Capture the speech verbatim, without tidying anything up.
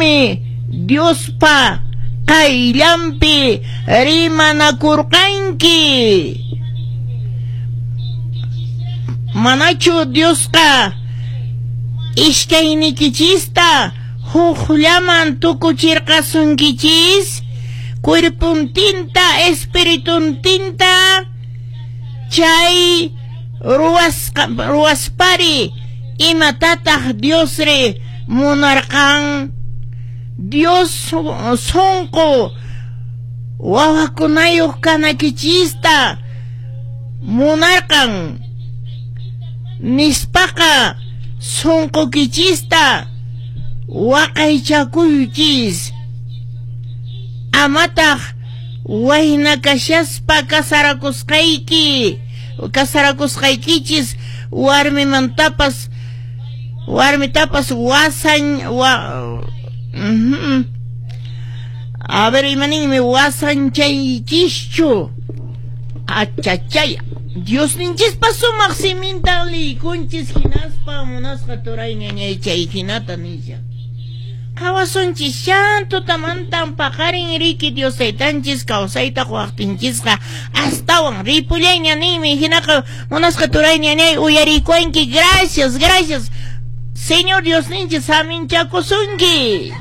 Imaraykunmi Diospa qayllanpi rimanakurqanki? Manachu Diosqa iskaynikichista hukllaman tukuchirqasunkichis? Cuerpuntinta, espirituntinta chay ruwasqa ruwaspari imatataq Diosri munarqan? Dios sunqu wawakunayuq kanakichista munarqan nispaqa sunqukichista waqaychakuychis. Amataq wayna kashaspa kasarakusqayki kasarakusqaykichis warmimantapas warmitapas wasan wa, uh-huh. A ver, imaninmi wasanchaychischu. Achachay, Diosninchispa sumaq siminta liykunchis hinaspa munasqa turay ñañay chay hinata nisha. Qhawasunchis tutamantan paqarin riki Dios taytanchis kawsayta quwaqtinchisqa astawan ripullayña ninmi. Hinaqa munasqa turay ñañay uyarikuanki. Gracias, gracias. Señor Diosninchis saminchakusunki.